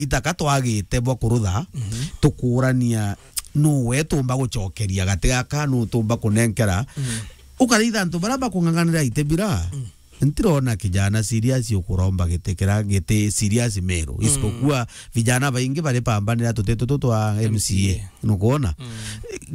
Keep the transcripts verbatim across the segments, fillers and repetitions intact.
itaka twagite bwa kurutha, tukuurania nuwe tumba gucokeria gati gaka, nu tumba kunenkera. Ukaraitha antu baria bakung'ang'anira ite bira. Ntirona kijana serious ukuromba giti kira giti serious Meru. Isipokuwa vijana baingi bari pambanira tuti tutu twa M C A. Nukwona?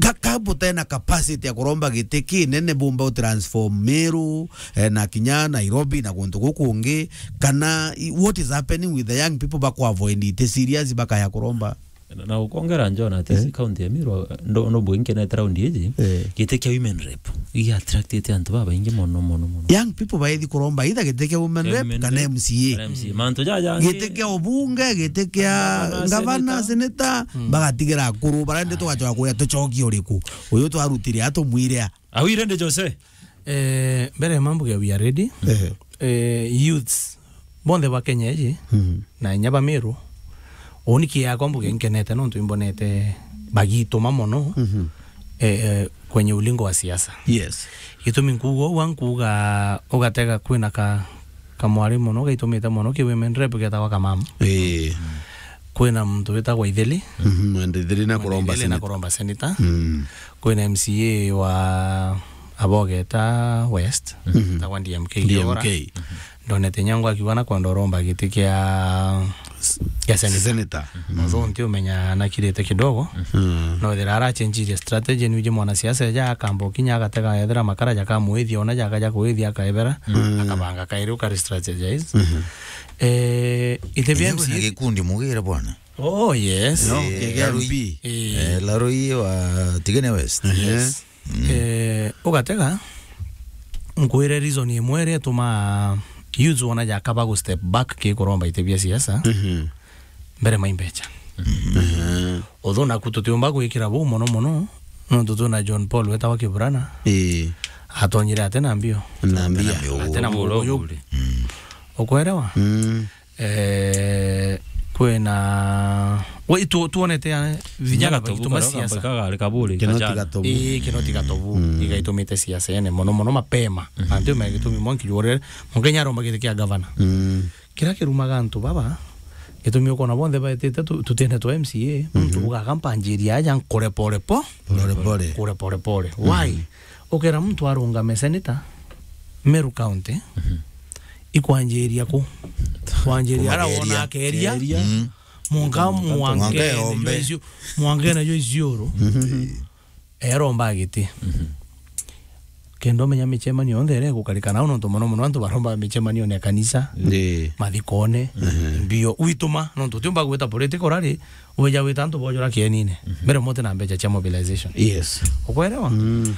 Ka, ka butena capacity ya kuromba giti kinene bumba utransform Meru, eh, na kinya Nairobi na guntu gukungi, kana i-, what is happening with the young people bakuavoid iti serious bakaya kuromba? Na, na ukongera John ati Eh? si county ya Meru, ndo, ndo bwingi na round iji, Eh. giti kia women rep, iga attractite antu babaingi mono, mono, mono. Young people baithi kuromba either giti kia women Kia rep women kana rep, M C A. kana M C A. Mantu jaja angi. Giti kia ubunge, giti kia Gavana, gavana, senator. senator, bagatigira akuru, barende tugacoka kuria tucokie uriku? Uyu twarutire a tumwire a? Au irende Jose? Eh, mbere ya mambo ya we are ready. Eh. Eh, youths bonthe ba Kenya iji, Mhm. na inya ba Meru, uni kiakwa mbuge nkenete nontu imbonete bagituma mono, Mhm. eh, eh, kwenye ulingo wa siasa. Yes. Gitumi nkuuga uu, nkuuga ugatega kwina ka, kamwari mono gaitumite mono ki women rep getagwa Kamam. Ii. Kwina muntu witagwa Ithili. Mhm, and Ithili na Mwene kuromba Ithili na senator. kuromba senator. Mm. Kwina M C A wa Abogeta West, Mhm. etagwa D M K D M K. Kiora. Ndonete nyangu akiuga na kwenda uromba giti kia, kia senator. Senator. Although ntiumenya nakirite kidogo. Mm. No ethira arachenjirie strategy, nuje mwanasiasa eja akamba ukinya agatega ethira makara jakamwithia, ona jaka ja kwithia akaebera, Mm. akabanga kairi ukari strategize. Mhm. Eh, ite Enyewe na M C A gikundi mugire bwana. Oh, yes. No, Eh, K K M P. Larui. Eh. Eh, Larui wa Tigania West. Ehe. Yes. Mm. Eh, ugatega, nkwire reason imwe iria itumaa youths wona jakaba gu step back ki kuromba ite bia siasa, Mhm. mbere mai mbecha. Mhm. Although naku tutiumba gwikira buu mono mono, nontu twina John Paul wetawa Kiburana, Ii. atonyire ate na mbio. Na mbia. Ate na Uu, mbio. Uu, uu. Mm. Ukwerewa? Mm. Eh, kwina, we, tu-, tuonete ya vinya Gatobu bagituma karia siasa. Kagari kaburi, Kinoti kajana. Gatobu. Ii, Kinoti Gatobu, Mm. igaitumite siasa ene mono mono mapema. Mhm. Antu megitumi mwanki jore, Mukenya aromba giti kia gavana. Mm. Kira kirumaga antu baba, gitumi ukona bonthe baetite tu-, tutine twa M C A, muntu Mhm. ugaga mpanjiria aja nkure pore po. Pore pore. Kure pore pore. Why? Mhm. Ukera muntu arungame senator, Meru County, Mhm. ikwanjiria ku? Kwanjiria ara wona akeria, Keria. Mm. mwanka Mwanka mwanka ene yombe. jo icio, mwanka ene jo icioro. Mhm. Eromba giti. Mhm. Kenda umenya michemanio yonthe iria igukarika nao, nontu mono mono antu baromba michemanio ya kanisa, Ndi. mathikone, Mhm. mbio. Wituma, nontu utiumba gwita political rally, uja wita antu bojora kienine. Mhm. Mbere mote na mbecha cia mobilization. Yes. Ukwerewa? Mm.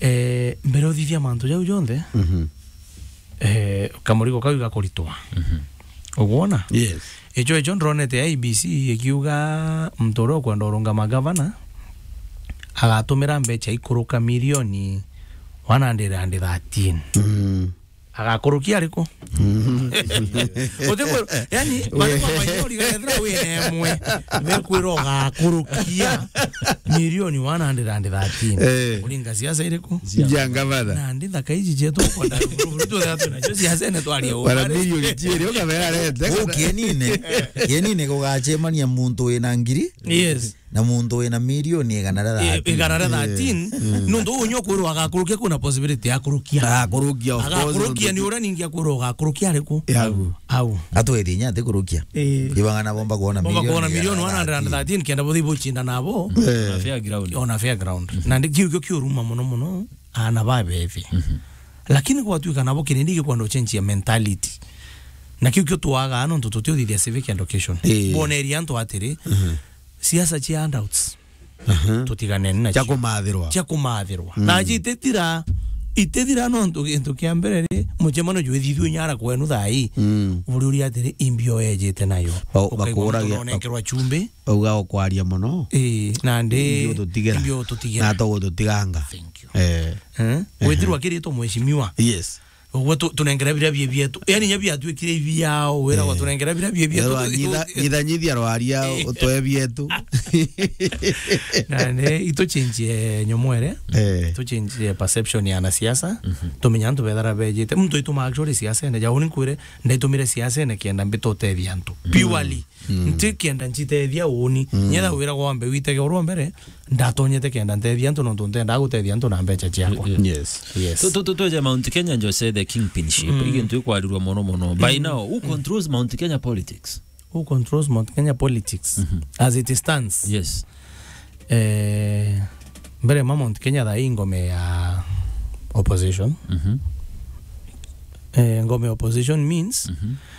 Eh, mbere uthithia mantu jau jonthe, Mhm. eh, kamurigo kau igakuritwa. Mhm. Ugwona? Yes. Icho, icho ndronete I E B C ikiuga muntu uria ukwenda urungama gavana agatumira mbecha ikuruka milioni one hundred and thirteen. Mm. Agakurukia ariku? Mm. Utikwe-, yani, mariko manyori gethira wina emwe, mekwira ugakurukia milioni one hundred and thirteen. Eh. Uringa siasa iriku? Cia gavana. Na ndi thaka iji cietu ukwenda ruburu, twethira twinacio siasa ene twaria u. Bara milioni ciiri ukabera rete. Uu kienine, kienine gugachemania muntu wina ngiri Yes. na muntu wina milioni igana ria I-, thirteen. Igana ria thirteen, Mm. nuntu uu nyo kwirwa agakurukia, kwina possibility ya kurukia. Agakurukia, of course, Agakurukia nuntu ni uria ningi akwirwa ugakurukia ariku? Yagu. Au. Atweri inya atikurukia. Eh. Ibanga na bomba kuona Bomba milioni kuona ya milioni one hundred and thirteen, kenda buthi buchinda nabo. Eh. On a fair ground. On a fair ground. Na ndi kiu kio kiuruma mono mono, ana babethi. Mhm. Lakini gwatuika nabo kirindi gikwenda uchenjia mentality. Na kiu kio twaga nontu tutiuthithia civic education. Eh. Boneria antu atiri, Mhm. siasa cia handouts. Aha. Tutiganeni nacio. Cia kumathirwa. Cia kumathirwa. Mm. Na iji itithira, itithira nontu gintu kia mbere ri, mucemano jwithithue nyara kwenu thaa ii. Mm. Buri uria atiri, imbio ejite nayo. Ba-, Ukaigua bakuragia, muntu uronenkerwa chumbi. Bauga ukwaria mono. Ii, nandi Imbio ututigira. Imbio ututigira. Na to gututiganga. Thank you. Eh. Eh? Ehe. Gwithirwa akiritwo mheshimiwa. Yes. Uguo tu-, tunengera biria bie bietu. Yani, nya biatuikire ibiao, wira gwa Eh. tunengera biria bie bietu. Erwa, tu-, nyitha-, tu-, nyithanyithia rwaria, Eh. utwe bietu. Na ni ituchenjie nyomo ere, Eh. ituchenjie perception ya anasiasa, Mhm. tumenya antu bethara bejite. Muntu ituma actually siasa ene, jau ni nkwire, ndaitumire siasa ene kenda mbite utethia antu. Mm. Purely. Mm. Ntikienda ncitethia uuni. Mm. Nyetha wira gwambe witege urwa mbere, ndatonyete kenda ntethia antu nontu ntendaa gutethia antu na mbeca ciakwa. Yeah. Yes. Yes. Tu- tu- tu- tweje Mount Kenya, Jose, the kingpinship. Mm. Igintu ikwarirwa mono mono. By now, who controls Mount Kenya politics? Who controls Mount Kenya politics? Mhm. As it stands? Yes. Eh, mbere ma Mount Kenya thaa hii ngome ya opposition. Mhm. Eh, ngome ya opposition means Mhm.